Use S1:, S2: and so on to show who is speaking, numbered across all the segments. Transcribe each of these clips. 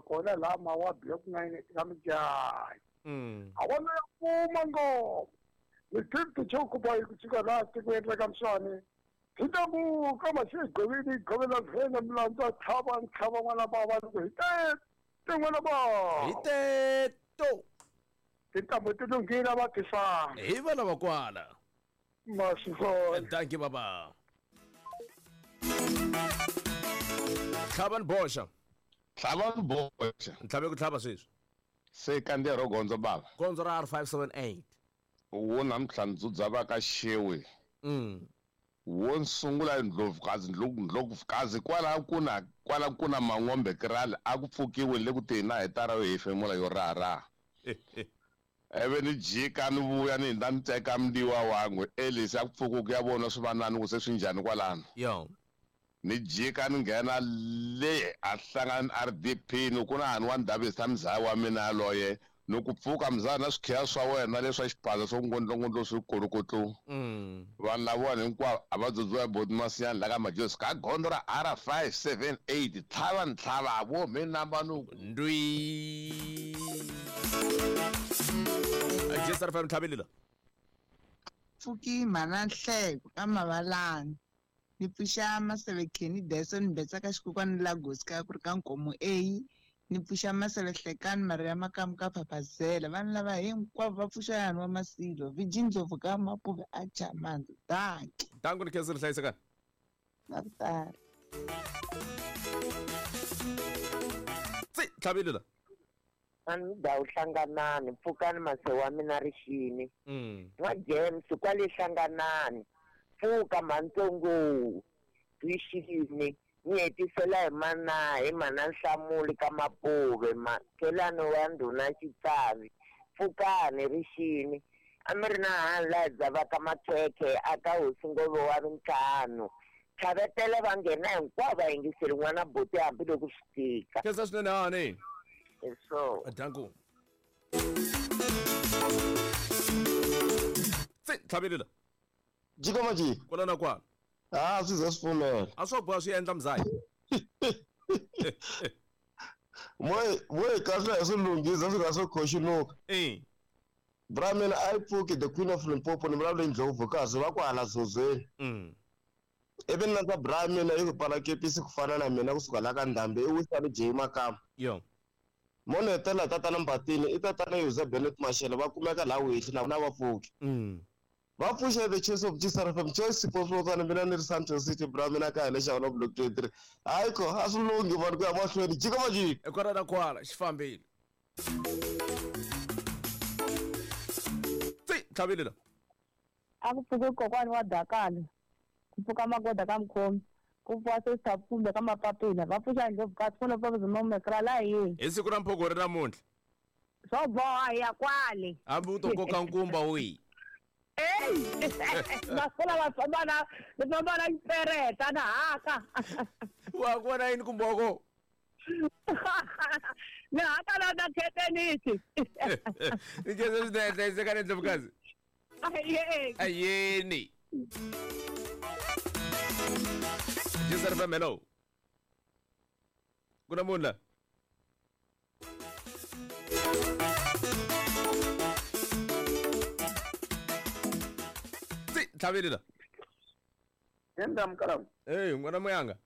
S1: Kona laha mawa block 9 ka Mijayi. A vona ya kuma ngopfu. Ni 50 choku boy ku suka laha tikweni ra ka Mswani. Hi ta muka masigovini govela vhena milandzu a tlhava ntlhava n'wana bava loko hi te n'wana bava.
S2: Hi teto.
S1: Tintambu ti lunghile va tisana.
S2: Hi vana va kwala.
S1: Masivona.
S2: Thank you baba. Tlhava ni boxa.
S3: Tlhava ni boxa.
S2: Ntlhave ku tlhava sweswi.
S3: Se kandziya ro gondzo bava.
S2: Gondzo ra R578.
S3: Wo namuntlha ndzudza va ka Xewe. Wo sungula ndlovukazi ndlovukazi kwala ku na kwala ku na mangombe krali a ku pfukiwi le ku teni na hetara yo hefemula yo raha-raha. Ivi ni jika ni vuya ni hindza ni teka mndiwa wangwe Elisi a ku pfuki ku ya vona swivanani ku se swi njhani kwalano.
S2: Yo.
S3: Ni jika ni nghena le a hlangana ni RDP ni ku na hani wa Ndabezitha mzaya wa mina yaloye ni ku pfuka mzaya na swikhiya swa wena leswa xiphaza swo ngondlongondlo swi kolokotlo. Vanhu lavawani hinkwavo a va dzudziwa hi Boti Masiyani la ka Majozi ka gondzo ra R578 tlhava ni tlhava vo mi namba ni ku
S2: Ndwi. Jesi FM tlhavelela.
S4: Pfuki mhana Nhleko ka Mavalani. Ni pfuxa Maseve Kenny Dyson Mbetsa ka Xikokwani Lagos ka ku ri ka Nkomo A. Ni pfuxa Maseve Hlekani Maria Makamu ka Phaphazela. Vanhu lava hinkwavo va pfuxa yani wa Masilo. Viji Ndlovu ka Mapuve a Chamandza. Danki.
S2: Danku ni khensa ri hlayisekani.
S4: Na ku tala.
S2: Tsi tlhavelela.
S5: A ni dawu hlanganani pfukani mase wa mina rixini. N'wa James kwale hlanganani pfuka mhantsongo rixini ni hetisela hi mana hi mana Nhlamulo ka Mapuve makhelwani wa ndhuna Xitsavi pfukani rixini a mi ri na hani laha dzavaka makhekhe a ka hosi Ngove wa vintlhanu tlhavetela va nghena hinkwavo va yingiseli n'wana buti hambiloko swi tika.
S2: Khensa swinene hani.
S5: Hi swona.
S2: Danku. Tsi tlhavelela.
S6: Jika majika.
S2: Kwala na kwala.
S6: Ah, swi ze swi pfumela.
S2: A swo boha swi endla mzaya.
S6: Moy moy kahle hi swi lunghisa swi nga swi khoxinuka.
S2: Eh.
S6: Bra mina a yi pfuki the queen of Limpopo ni vulavula Ndlovu kazi va kwala Zozweni. Ivi ni landza bra mina yi ku pfala kepisi ku fana na mina kusuka la ka Ndhambi i Wisani J Makamba.
S2: Yo.
S6: Mo ni hetelela tatana Mbatini i tatana Yuza Bennett Mashele va kumeka la Wehli na va pfuki. Va pfuxa the choice of Jesus FM choice Sipho Sibokane mina ni ri Sandton City bra mina kaya le Xawana block 23. Hayi ko a swi lunghi vanhu ku ya mahlweni jika majika.
S2: Kwala na kwala xi fambile. Tsi tlhavelela.
S7: A ku pfuki kokwani wa Dakala. Ku pfuka magoda ka Mkhomi. Ku pfuka sister Pfumbe ka Mapapila. Va pfuxa Ndlovu ka Tsholo pa Zuma Mekra la yini.
S2: Hi siku ra Mphoko ri namuntlha.
S7: Swo boha hi ya kwale.
S2: Hambi u to koka nkumba wihi.
S7: Ey! Masiku lawa famba na ni famba na xipereta na haka.
S2: Wa ku vona yini kumbe wa ko?
S7: Ni haka na na khetenisi.
S2: Ni khensa swinene hlayisekani Ndlovukazi.
S7: Ayeni.
S2: Ayeni. Jesi FM hello. Ku na munhu la? Tsi tlhavelela.
S1: Enda mkalamu.
S2: Hey, n'wana muyanga.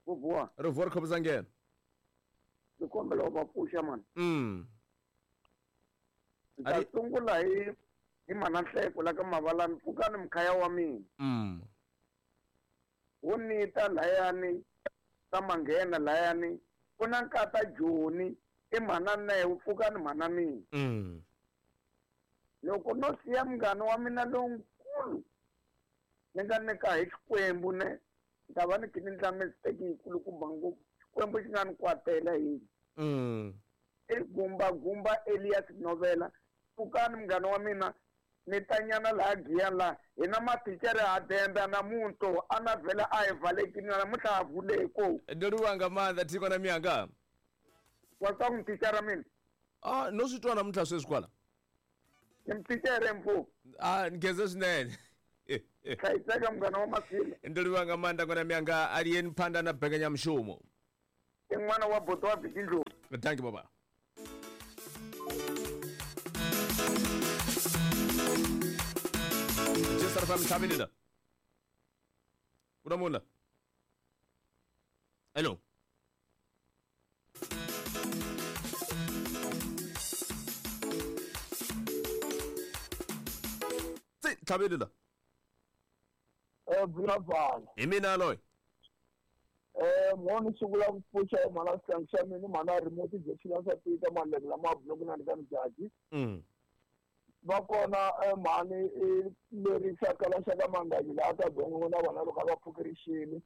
S1: Ku vuwa.
S2: Rivuwa ri khomisa nghena.
S1: Ni kombela u va pfuxa mani. Ni ta sungula hi mana Nhleko la ka Mavalani pfukani mkhaya wa mina. Wo nita layani ka manghena layani ku na nkata Joni i mhana Newu pfukani mhana mina. Loko no siya munghana wa mina lonkulu ni nga nyika hi Xikwembu ne ni ta va ni khe ni endla mistake yikulukumba ngopfu Xikwembu xi nga ni kwatela hi. I gumba gumba Elias Novela pfukani munghana wa mina ni ta nyana laha Giyani laha hi na mathicara ha dembe na muntu a na vhela a hi valekini namuntlha ha vuleko.
S2: Ndo livhuwa nga maanḓa thikho na miyanga.
S1: Wa twa ku muthicara mina?
S2: Ah, no swi twa namuntlha sweswi kwala.
S1: Ni muthicara mfo.
S2: Ah, ni khensa swinene.
S1: Hlayiseka munghana wa Masilo.
S2: Ndo livhuwa nga maanḓa ngwana miyanga aliyeni phanda na mbekanyamushumo.
S1: I n'wana wa boto wa Bikindlo.
S2: Thank you baba. Jisar fam tlhabelela. Kuna mola. Hello. Tsi tlhabelela.
S1: Vulavula.
S2: Hi mina loyi.
S1: Mhani sungula ku pfuxa mhana xihlangi xa mina mhana remote injection swa tika malebe lama buloko na ka mjaji. Va kona mhani leri xakala xa ka mangayi laha ka gongo na vana loko va pfukerixini.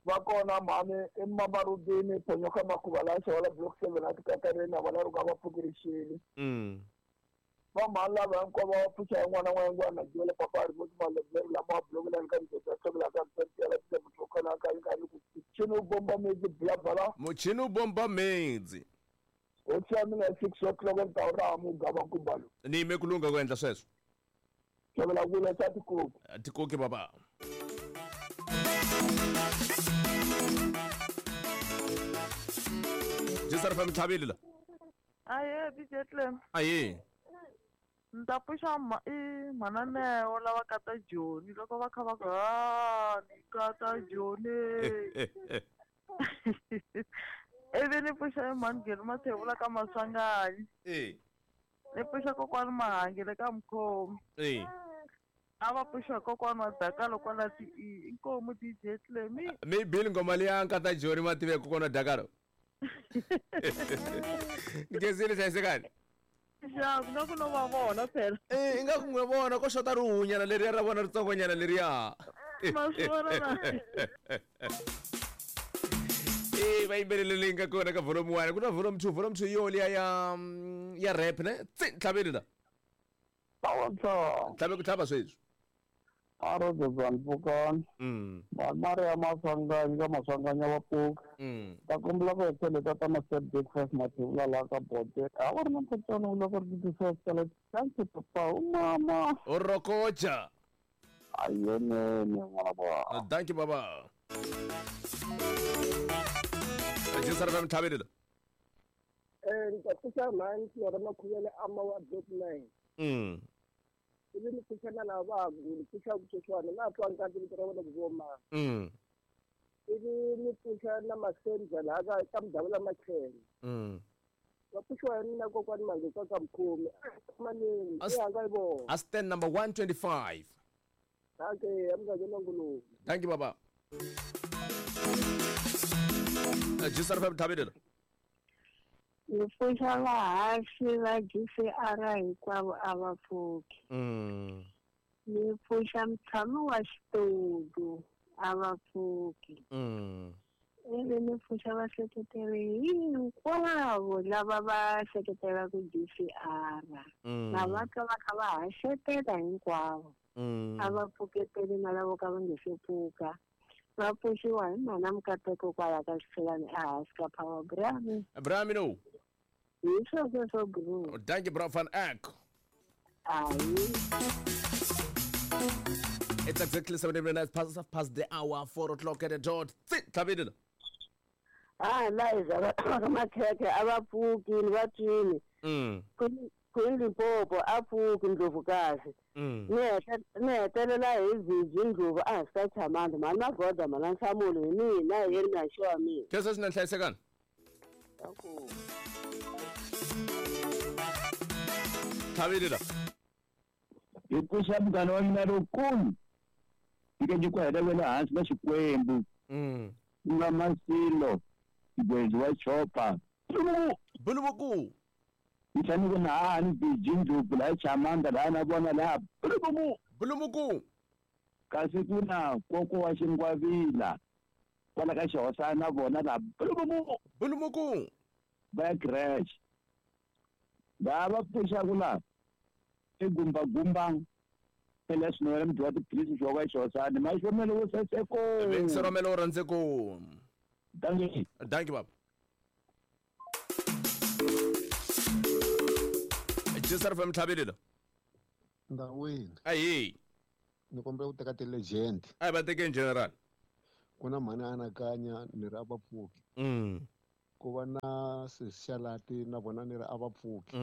S1: Va kona mhani i Mamarudini Phonyoka Makhuva laha xawala block 7 a tikatareni na vana loko va pfukerixini. Va mhani lava hinkwavo va pfuxa n'wana wa n'wana jele papa remote malebe lama buloko na ka mjaji xakala ka mchini bomba medzi blabala
S2: muchini bomba medzi
S1: o mina 6 o'clock ntawra mugava kubalo
S2: ni me kulunga ku endla sweswo
S1: xavela kula sa tikoki
S2: tikoki baba Jisar fam tlhabelela
S7: aye bijetle
S2: aye
S7: nta pfuxa i mananeo lava kata Joni loko va kha va ku ni kata Joni ivi ni pfuxa emhangheni Mathevula ka Maswanganyi ni pfuxa kokwani Mahangele ka Mkhomi a va pfuxa kokwani wa Dakalo kwala ti inkomu DJ Clemi
S2: mi bili ngoma liya nkata Joni mative kokwana Dakalo Ngezile hlayisekani
S7: Ja, nga ku no va vona phela.
S2: Nga ku n'wi vona ko xota rihunyana leriya ra vona ritsongonyana leriya.
S7: Ma swi vona na.
S2: Va yimbelele leyi nga kona ka volume 1 ku na volume 2 volume 2 yo liya ya rap ne tsi tlhaveli la. Tlhabe ku tlhava sweswi.
S1: Arozozanpukani. Mari ya Maswanganyi ka Maswanganyi wa pfuka. Ta kombela ku hetela ta ma breakfast mathevula laha ka bote. A va ri na mpfutsano loko ri titisa tala chance papa u mama.
S2: O rokoja.
S1: Ayene n'wana ba.
S2: Thank you baba. Jisar fam tlhabelela.
S1: Ni ta pfuxa mhani ra Makhuvele ama wa block 9. Ivi ni pfuxa na lava ni pfuxa kutswana na twa nkarhi vito ra vona ku voma. Ivi ni pfuxa na Masenza laha ka Mdavula Machele. Va pfuxiwa hi mina kokwani Mange ka Mkhomi. Manini i hanga yi vona.
S2: A stand number 125.
S1: Okay, amngane nguluwe.
S2: Thank you baba. Jisar fam tlhabelela.
S7: Ni pfuxa vahaxi va GCR hinkwavo a va pfuki. Ni pfuxa mutshami wa xitulu a va pfuki. Ivi ni pfuxa vaseketeri hinkwavo lava va seketelaka GCR. Na va ka va kha va haxetela hinkwavo. A va pfuketeli na lavo ka va nge se pfuka. Va pfuxiwa hi mhana Mukateko kwala ka Xiphelani ehansi ka Power Brami.
S2: Brami no.
S7: Hi sweswo swo bro.
S2: Thank you bro van Eck.
S7: Ayi.
S2: It's exactly 7 minutes past the hour, 4 o'clock at the dot. Tlhabelela.
S7: Liza va Makhekhe a va pfuki va twini. Queen Limpopo a pfuki Ndlovukazi. Ni hetelela hi Viji Ndlovu a hansi ka Chamanda mhani Magoda mhana Nhlamulo hi mina hi yeri Myaxi wa mina.
S2: Khensa swinene hlayisekani. Tlhabelela.
S1: Hi pfuxa munghana wa mina lowukulu nyike ku hela wela hansi na Xikwembu. Ku nga Masilo Xigwezi wa Chopa.
S2: Bulubuku.
S1: Ni fanele ku na hani Viji Ndlovu laha Chamanda laha na vona laha Bulubuku.
S2: Bulubuku.
S1: Kasi ku na koko wa Xingwavila kwala ka Xihosana na vona laha Bulubuku.
S2: Bulubuku.
S1: Va ya creche. Laha va pfuxaku laha i Gumba Gumba phela swinene mudyi wa tiphilisi swa ka Xihosana maxomelo wo saseko.
S2: Vekisiromelo rhandzeko.
S1: Thank you.
S2: Thank you baba. Jisar fam tlhabelela.
S8: Ndawini.
S2: Ayi.
S8: Ni kombela ku teka ti-legend.
S2: A va teke in general.
S8: Ku na mhani anakanya ni ri a va pfuki. Ku va na Sishalati na vona ni ri a va pfuki.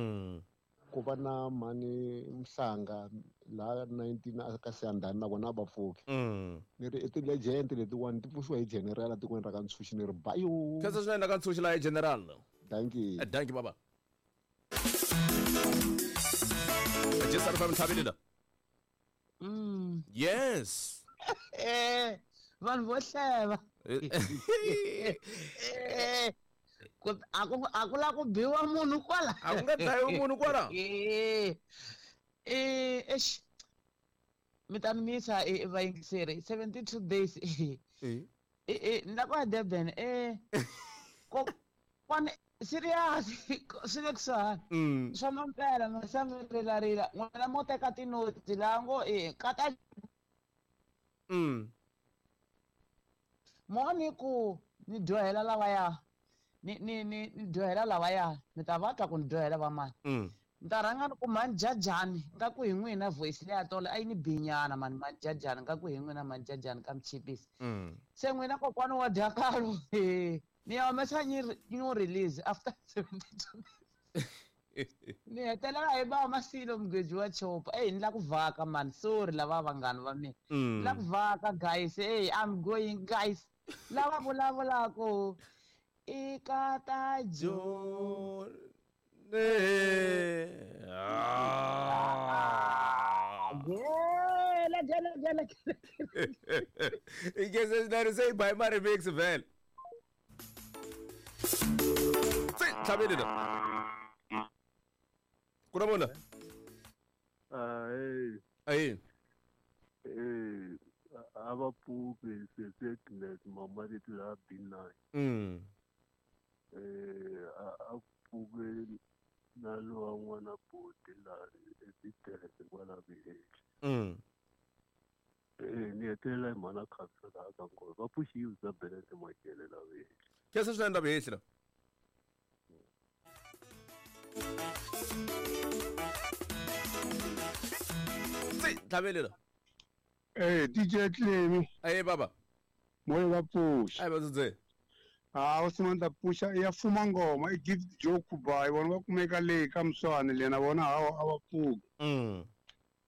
S8: Ku va na mhani Mhlanga laha 19 ka Siyandhani na vona a va pfuki. Ni ri i ti-legend letiwani ti pfuxiwa hi general etikweni ra ka Ntshuxi ni ri bayo.
S2: Khensa swinene ka Ntshuxi laha hi general.
S8: Dankie.
S2: Dankie baba. Jesu ari family la. Yes.
S4: Vanhu vo hleva. A ku la ku biwa munhu kwala.
S2: A ku nga dlayiwi munhu kwala.
S4: Eish. Mi ta ni misa vayingiseri 72 days. Ni la ku ya Durban Kwane serious swi le kusuhani. Swa mampela ma mi rilarila n'wina mo teka tinotsi laha ngo kata mo ni ku ni dyohela lavaya ni dyohela lavaya mi ta va twa ku ni dyohela va mani. Ni ta rhanga ni ku mhani jajani nga ku hi n'wina voice leya tolo a yi ni binyana mani mhani jajani nga ku hi n'wina mhani jajani ka michipisi. Se n'wina kokwani wa dyakalo ni ya humesa new release after 72 ni hetelela hi ba Masilo mugweji wa chopa. Ni la ku vhaka man, sorry lava vanghana va mina. Ni la ku vhaka guys, hey I'm going guys. Lava vulavulako i kata
S2: jo
S4: gela gela gela.
S2: Ikese nari say by my remix vele. Tlhabele la. Kurabona. Hey.
S9: Ava pfuki se mama leti la B9. A pfuki na lowa n'wana boti la eBidele kwala VH. Ni hetelela hi mhana khamisa laha ka nghozi va pfuxiwi bya Benete Makele la VH.
S2: Khensa swinene la VH la. Tlhabele la.
S10: DJ Clemi.
S2: Hey baba.
S10: Moyo va pfuxa.
S2: Ai va dzudze.
S10: Ah, o pfuxa ya fuma ngoma i gift joke by vona va kumeka le ka Mswani le na vona hawa a va pfuki.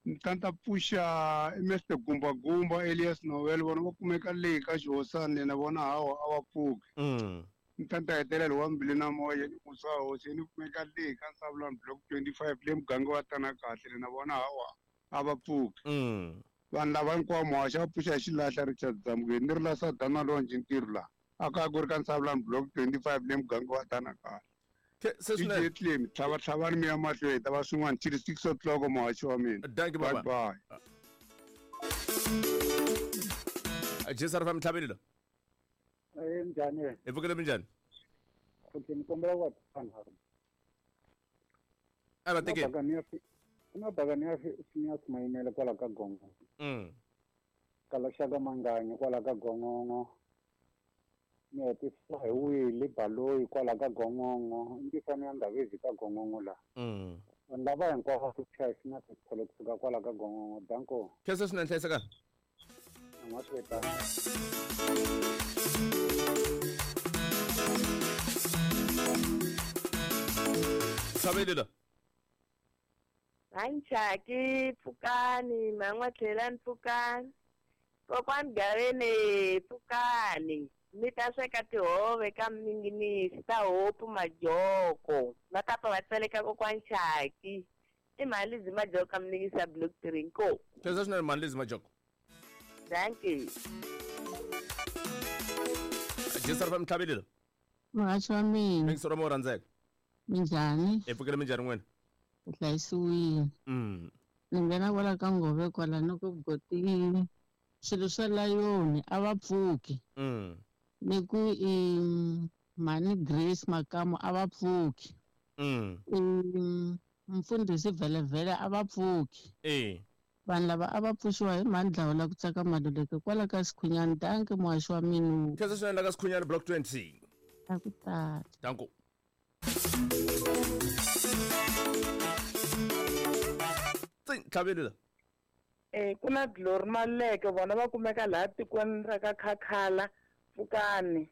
S10: Ntanta pfuxa i Mr Gumba Gumba Elias Noel vona va kumeka le ka Xihosani le na vona hawa a va pfuki. Ntanta hetelela wa mbili na moya ni musa hosi ni kumeka le ka Nsavulani block 25 le muganga wa tana kahle le na vona hawa a va pfuki. Vanhu lava hinkwavo muhaxi va pfuxa hi xilahla Richard Zamukeni ni ri la Sadana Lonji ntirho laha a ka ku ri ka Nsavulani block 25 le muganga wa tana kahle. DJ Clem tlhava tlhavani mi ya mahlweni ta va swin'wana till 6 o'clock muhaxi wa mina.
S2: Thank you baba.
S10: Bye.
S2: Jesu ari fami tlhavele la.
S11: Njhani?
S2: Hi pfukile minjhani?
S11: Okay, ni kombela ku va vanharhu.
S2: A va tekeni.
S11: Ku na bakani ya Phineas Mayimele kwala ka Gongongo. Kala xaka Manganyi kwala ka Gongongo. Ni hetisa hi Willy Baloyi kwala ka Gongongo. Ntifani ya Ndavezi ka Gongongo la. Vanhu lava hinkwavo ku chaya na tipholo kusuka kwala ka Gongongo. Danko.
S2: Khensa swinene hlayiseka.
S11: N'wasweta.
S2: Tlhabele la.
S12: Anchaki pfukani man'wa tlhelani pfukani kokwani Gaveni pfukani mi ta sweka tihove ka mninginisi ta hopu majoko va ta pfa va tseleka kokwani Chaki i mhani Lizzy Majoko ka mninginisi ya block 3 nko.
S2: Khensa swinene mhani Lizzy Majoko.
S12: Thank you.
S2: Jesu ari fami tlhabele la.
S13: Muhaxi wa mina.
S2: Mingisoro mo rhandzeka.
S13: Minjhani?
S2: Hi pfukile minjhani n'wina?
S13: Hlayisiwile. Ni nghena kwala ka Ngove kwala ni ku gotile swilo swa layoni a va pfuki. Ni ku i mhani Grace Makamu a va pfuki. Mfundhisi Vhelevhele a va pfuki. Vanhu lava a va pfuxiwa hi mhani Dlawula ku tsaka Maluleke kwala ka Sikhunyani. Danke muhaxi wa mina.
S2: Khensa swinene la ka Sikhunyani block 20.
S13: A ku tala.
S2: Danko. Tlhabele la.
S14: Ku na Glory Maluleke vona va kumeka laha tikweni ra ka Khakhala Pfukani.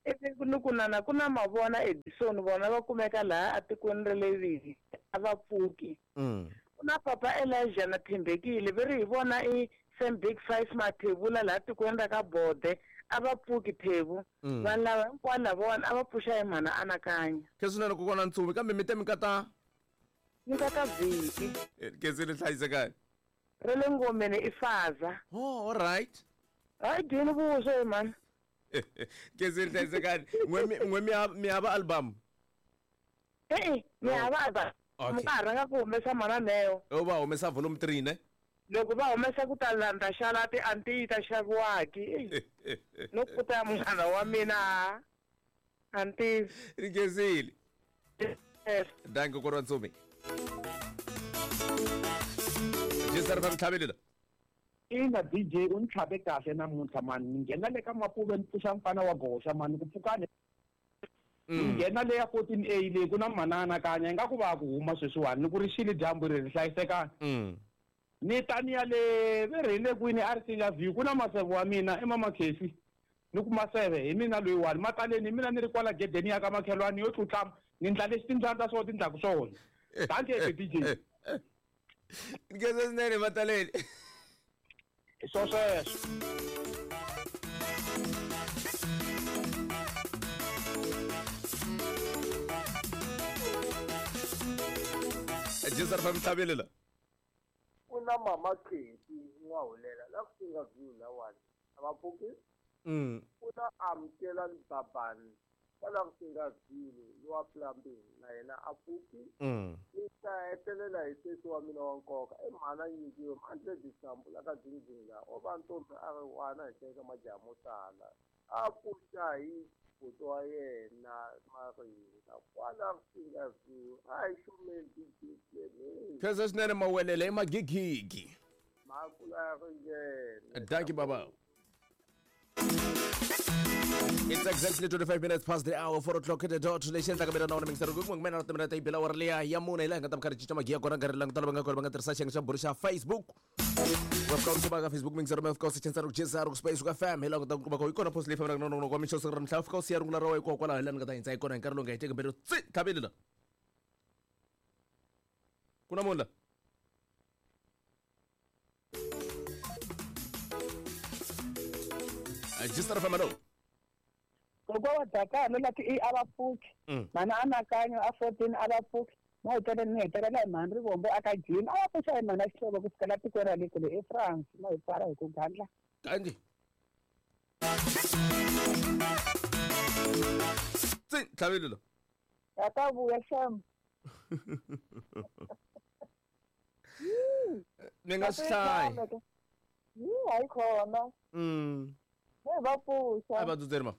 S14: Ivi ni ku nana ku na mavona Edison vona va kumeka laha atikweni ra le Vivi a va pfuki. Ku na papa Elijah na Thembekile ve ri hi vona i Sam Big Five Mathebula laha tikweni ra ka Bode a va pfuki Thebu. Vanhu lava hinkwavo lavawani a va pfuxa hi mhana anakanya.
S2: Khe swinene kokwana Ntsuvi kambe mi te mi kata
S14: Ni kata vhiki.
S2: Khensile hlayisekani.
S14: Ra le ngomeni i faza.
S2: Oh, all right.
S14: Hayi dyini vuswa he mhani.
S2: Khensile hlayisekani. N'we mi hava album?
S14: E-e, mi hava album.
S2: Okay.
S14: Mi nga ha rhanga ku humesa mhana Neo.
S2: O va humesa volume 3 ne?
S14: Loko va humesa ku ta landza xalati a nti yi ta xaviwaki. No kuta ya munghana wa mina a nti.
S2: Ni khensile.
S14: Yes.
S2: Dankie kokwana Ntsuvi. Jisar fa mtlhabelela.
S15: Ina DJ u ni tlhabe kahle namuntlha mani ni nghena le ka Mapuve ni pfuxa mfana wa goxa mani ku pfukani. Ni nghena le ya 14A leyi ku na mhana anakanya ingaku va ku huma sweswiwani ni ku ri xile dyambu ri ri hlayisekani. Ni ta ni ya le ve ri hi le kwini a ri singa view ku na maseve wa mina i mama Khefi ni ku maseve hi mina loyiwani mataleni hi mina ni ri kwala gedeni ya ka makhelwani yo tlutlama ni ndla leswi timbyana ta swona ti ndlaku swona. Dankie DJ.
S2: Nkhensa swinene mataleni.
S15: Hi swo sweswo.
S2: Jisar fa mtlhabelela.
S1: Ku na mama Khefi n'wahulela la ku singa view lawani a va pfuki. Ku na amukela Babani kwala ku singa view lowa plumbing na yena a pfuki. Ni ta hetelela hi sesi wa mina wa nkoka i mhana nyikiwe mandle disambu la ka dzindzini la o va ntombi a ri wana hi teka majaha mo tala a pfuxa hi buti wa yena Maringa kwala ku singa view a hi xumeni DJ.
S2: Khensa swinene mawelele i magigigi.
S1: Makula ya ringene.
S2: Dankie baba. It's exactly 25 minutes past the hour, 4 o'clock at the dot. Lexi endlaka mina na wena mingisero ku mina na timina ta yi bela awara liya ya mune hi laha hi nga ta mi karhi cinca magiya kona nkarhi langutana va nga kona va nga tirhisa xiyenge xa bulo xa Facebook. Va fika u kuma ka Facebook mingisero mi fika u search ku Jizar ku Space ku FM hi laha u nga ta kuma ko yi kona post leyi fambelaka na nongonoko wa mixo siku ra namuntlha u fika u siya rungula ra wena hikokwalaho hi laha ni nga ta hindza hi kona hi nkarhi lowu nga heteki mbilu tsi tlhaveli la. Ku na munhu la. Jistar FM hello.
S16: Kokwa wa Dakano la ti a va pfuki. Mhana anakanyo a 14 a va pfuki. Mo hetelela ni hetelela hi mhani Rivombo a ka Jim. A va pfuxa hi mhana Xihlovo ku sukela tikweni ra le kule eFrance. Mo hi pfala hi ku gandla.
S2: Kanji. Tsi tlhavelo lo.
S16: Ya ta vuya xem.
S2: Ni nga swi hlayi.
S16: Yi hayi khona. Ne va pfuxa.
S2: A va dzudzeri ma.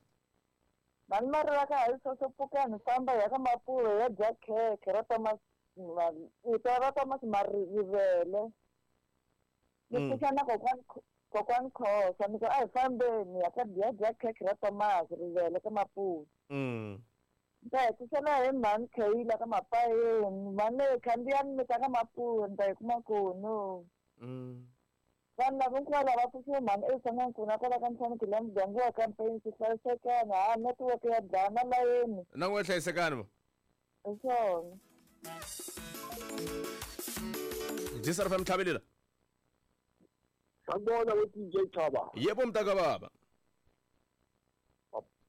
S16: Vanhu va ri va ka hi sweswo pfukani famba hi ya ka Mapuve ya dya khekhe ra Thomas ra Thomas Marivele. Ni pfuxa na kokwani Khosa ni ku a hi fambeni ya ka ya dya khekhe ra Thomas Rivele ka Mapuve. Ni ta hetisela hi mhani Kheyila ka Mapayeni mhani leyi khandziyani mi ta ka Mapuve ni ta yi kuma kona. Vanhu lava hinkwavo lava pfuxiwe mhani eSangankulu kwala ka Ntlhanu la muganga wa ka Mpensi hlayisekani ha network ya dlaya na layeni.
S2: Na n'we hlayisekani ma.
S16: Hi swona.
S2: Jisar FM tlhavelela.
S17: Sanibona we DJ Thaba.
S2: Yebo mntaka baba.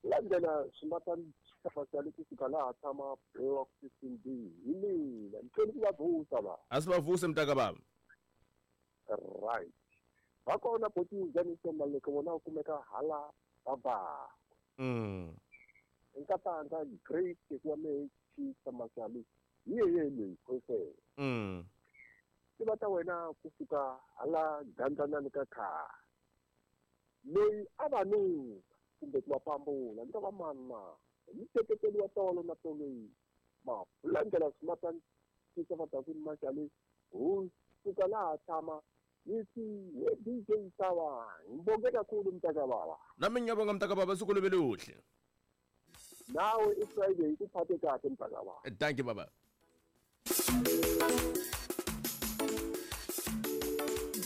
S17: Landela swimatani xifafazali kusuka laha tshama block 15B hi mina ni tlhela ku va vusa va.
S2: A swi va vuse mntaka baba.
S17: Right. Va kona boti Ndzaniso Maleke vona u kumeka hala baba. Nkatanga great wa me Chisa Mashali. Hi yeye leyi khosela. Ti va ta wena kusuka hala gandlanani ka khale. Loyi a va nuka kumbe ku va pambula ni ta va mani na. Hi seketeli wa tolo na toloyi. Ma landela swimatani Chisa Fadakuni Mashali. Hu suka laha tshama yithi we DJ Sawa ngibonge kakhulu mntaka baba.
S2: Nami ngiyabonga mntaka baba siku libe lihle.
S17: Nawe iFriday ikuphathe kahle mntaka baba.
S2: Thank you baba.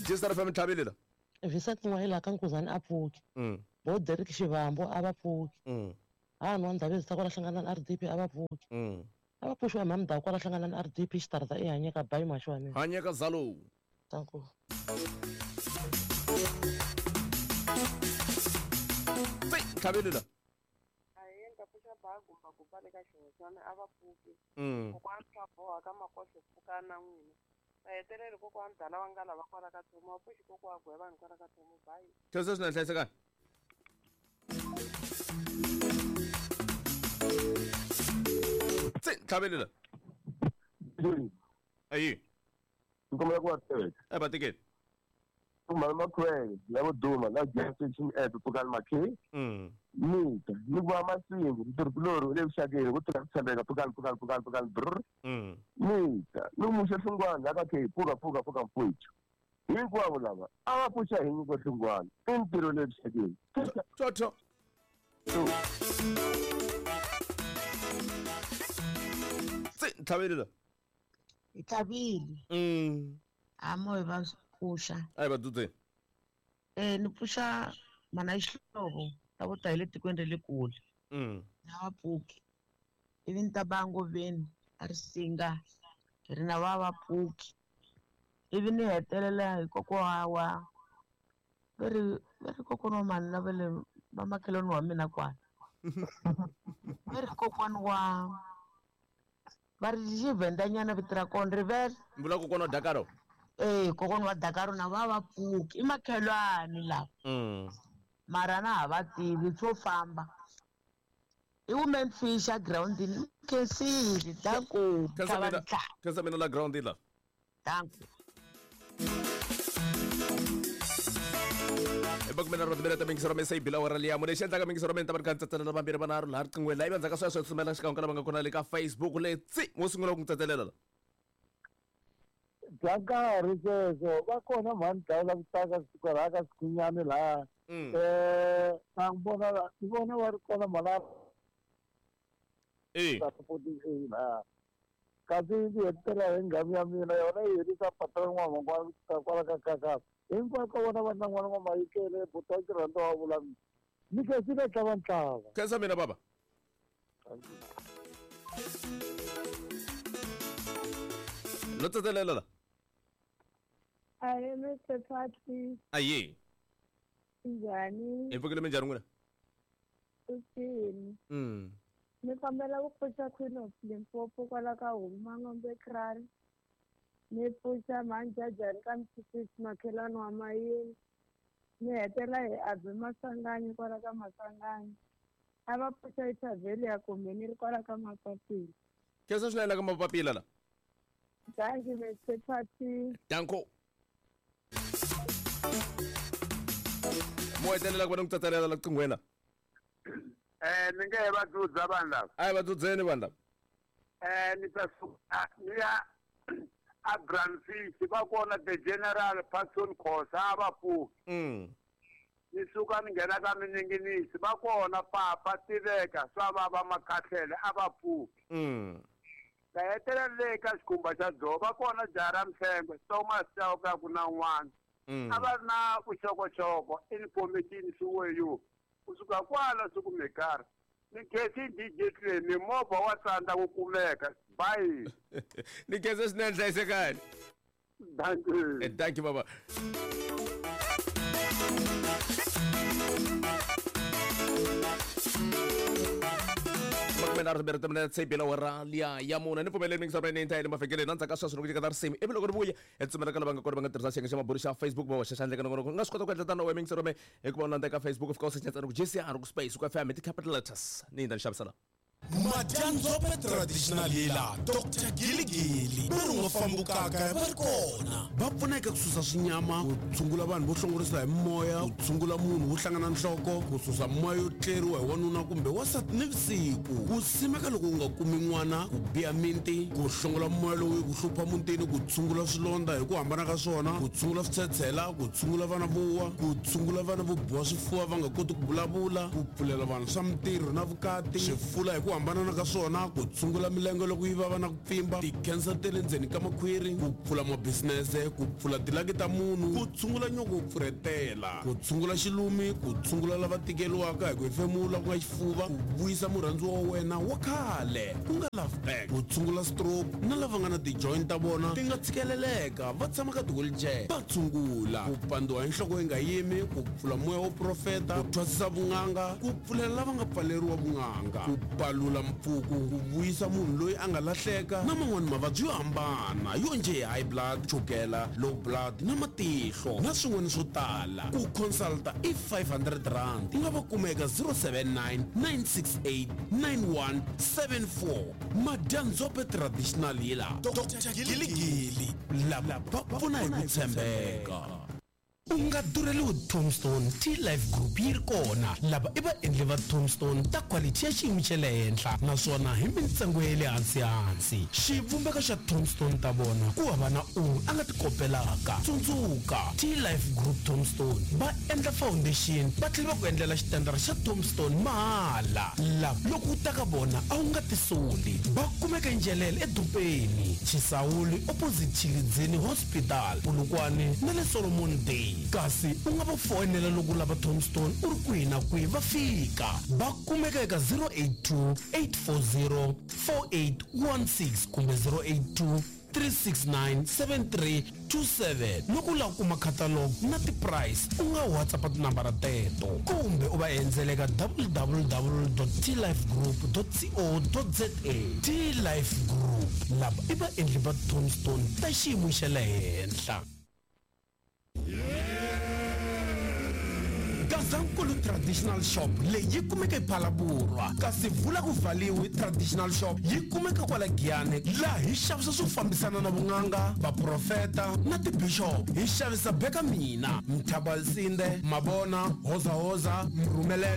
S2: Jistar FM tlhabelela.
S18: Vincent N'wayila ka Nkuzani a pfuki. Bo Derek Xivambo a va pfuki. Hani wa Ndhavezitha kwala Hlanganani RDP a va pfuki. A va pfuxiwa hi mhani Mdawu kwala Hlanganani RDP xitarata i Hanyeka bayi maxi wa mina.
S2: Hanyeka Zalo.
S18: Danko.
S2: Tsi, tlhaveli la.
S19: Ahee, ni ta pfuxa ba gumba gumba le ka xihoxana a va pfuki. Kokwani swa boha ka makohlo pfuka na n'wina. Va heteleli kokwani dala wa ngala va kwala ka Thomo, va pfuxi kokwa gweva ni kwala ka Thomo, bye.
S2: Khensa swinene, hlayisekani. Tsi, tlhaveli la. Ayi.
S20: Ni kombela ku va teka.
S2: A va tekeni.
S20: Mhani Makhwele la vo duma la Jackson app pfukani makhe. Ni ta ni ku va masingu ntirho le vuxakeni ku tirha ku tshembeka pfukani pfukani pfukani pfukani brr. Ni ta ni muxe hlungwana la ka khe pfuka pfuka pfuka mfowethu. Hinkwavo lava a va pfuxa hi nyiko hlungwana i ntirho le vuxakeni.
S2: Toto. Tsi, tlhaveli la.
S21: Hi tlhavile. A mo hi va pfuxa.
S2: A hi va dzudzeni.
S21: Ni pfuxa mhana Xihlovo ta vo ta hi le tikweni ra le kule. Na va pfuki. Ivi ni ta ba ngoveni a ri singa hi ri na va va pfuki. Ivi ni hetelela hi kokwa wa va ri kokwana wa mhani lava le va makhelwani wa mina kwala. Va ri kokwana wa va ri xivhendanyana vito ra kona rivele.
S2: Mi vula kokwana wa Dakaro?
S21: Kokwana wa Dakaro na va va pfuki i makhelwani lava. Mara na ha va tivi swo famba. I women fish a groundini khensile danko.
S2: Khensa mina la groundini la.
S21: Danko.
S2: Bakumena ro tibela ta mingisero me sei bila wara liya mune xi endlaka mingisero me ni ta va ni kha ni tsetselela vambirhi vanharhu laha riqingweni laha ivi endzhaku ka sweswo hi tsutsumela xikan'we ka lava nga kona le ka Facebook le tsi mo sungula ku n'wi tsetselela la.
S1: Bya nkarhi sweswo va kona mhani dlawula ku taka kwalaha ka Sikhunyani laha. Na vona ni vona va ri kona mhana laha. Kasi ndzi hetelela hi nghamu ya mina yona yi herisa patron n'wamangwana kwala ka kakasa. Hinkwako ka vona va na n'wana wa Mayikele buti wa Xirhandza wa vula mina. Ni khensile tlava ntlava.
S2: Khensa mina baba. No tsetselela la.
S7: Ahe Mr. Patrick.
S2: Aye.
S7: Njhani?
S2: Hi pfukile minjhani n'wina?
S7: Uthini? Ni kombela ku pfuxa Queen of Limpopo kwala ka Huma Ngombe Kraal. Ni pfuxa Mhanjajani ka Msisisi makhelwani wa Mayini. Ni hetela hi Abi Masanganyi kwala ka Masanganyi. A va pfuxa Isabel ya kumbe ni ri kwala ka Mapapila.
S2: Khensa swinene ka Mapapila la.
S7: Thank you Mr. Patrick.
S2: Danko. Mo hetelela ku va ni ku tsetselela la qinghweni la.
S1: Ni nge he va dzudza vanhu lava.
S2: A hi va dzudzeni vanhu lava.
S1: Ni ta suka ni ya a Brandfish va kona the General Patson Khosa a va pfuki. Ni suka ni nghena ka Mininginisi va kona Papa Tiveka swa va va Makhahlele a va pfuki. Ta hetelela le ka xikhumba xa dzovo va kona Jara Mhlengwe Thomas Chauke ku na n'wana. A va ri na vuxokoxoko information swiweyo. Kusuka kwala swi kumekara. Ni khensi DJ Clay mimovha wa tsandza ku kumeka. Bye.
S2: Ni khensa swinene hlayisekani.
S1: Thank you.
S2: Thank you baba. Makume nharhu timbirhi timinete se bela wara liya ya mune ni pfumeleli mingisero ni intayele mavhengeleni na ndzhaku ka sweswo loko nyiketa risimu ivi loko ri vuya hi tsumela ka lava nga kona va nga tirhisa xiyenge xa mabulu xa Facebook va hoxa xandla eka nongonoko nga swi kota ku endla tano we mingisero me hikuva u landza eka Facebook u fika u secha ntsena ku JCR ku space ku FM hi ti-capital letters ni yindza ni xavisela.
S22: Madyandzhope traditional healer Dr. Giligili va ri nga fambukaka va ri kona va pfuneka ku susa swinyama ku tshungula vanhu vo hlongorisa hi moya ku tshungula munhu wo hlangana nhloko ku susa moya yo tleriwa hi wanuna kumbe wansati nivusiku ku simeka loko u nga kumi n'wana ku biha minti ku hlongola moya lowu ku hlupha mutini ku tshungula swilondza hi ku hambana ka swona ku tshungula switshetshela ku tshungula vana vo wa ku tshungula vana vo biwa swifuva va nga koti ku vulavula ku pfulela vanhu swa mintirho na vukati swifula hi ku ku hambanana ka swona, ku tshungula milenge loko yi vava na ku pfimba, ti-cancer ta le ndzeni ka makhwiri, ku pfula mabisinese, ku pfula tilaki ta munhu, ku tshungula nyoko wo pfurhetela, ku tshungula xilumi, ku tshungula lava tikeriwaka hi ku hefemula ku nga xifuva, ku vuyisa murhandziwa wa wena wa khale ku nga love back, ku tshungula stroke na lava nga na ti-joint ta vona ti nga tshikeleleka va tshama ka ti-wheelchair, va tshungula ku pandziwa hi nhloko yi nga yimi, ku pfula moya wo profeta, ku thwasisa vun'anga, ku pfulela lava nga pfaleriwa vun'anga, ku palula mpfuku, ku vuyisa munhu loyi a nga lahleka na man'wani mavabyi yo hambana yo njhe hi high blood, chukela, low blood na matihlo na swin'wana swo tala. Ku consulta i R500. U nga va kuma eka 079 968 9174. Madyandzhope Traditional Healer, Dr Giligili, lava va pfuna hi ku tshembeka. U nga durheliwi Tombstone, T-Life Group yi ri kona. Lava i vaendli va Tombstone ta quality ya xiyimo xa le henhla naswona hi mintsengo ya le hansi-hansi. Xivumbeko xa Tombstone ta vona ku hava na un'we a nga ti kopelaka. Tsundzuka, T-Life Group Tombstone va endla foundation va tlhela va ku endlela xitandara xa Tombstone mahala. Lava loko u ta ka vona a wu nga tisoli. Va kumeka eNjelele eDopeni, Chisawuli opposite Tshilidzini Hospital, Polokwane na le Solomon Day. Kasi u nga va foyinela loko u lava Tombstone u ri kwihi na kwihi va fika. Va kumeka eka 082 840 4816 kumbe 082 369 7327. Loko u lava ku kuma catalog na ti-price u nga WhatsApp tinambara teto kumbe u va endzela eka www.tlifegroup.co.za. T-Life Group, lava i vaendli va Tombstone ta xiyimo xa le henhla. Gazankulu Traditional Shop leyi yi kumeka ePhalaborwa, kasi Vula ku Valiwi Traditional Shop yi kumeka kwala Giyani, laha hi xavisa swo fambisana na vun'anga, vaprofeta na tibishop. Hi xavisa Beka Mina, Mthabalsinde, Mabona, Hozahoza, Mrhumelelo.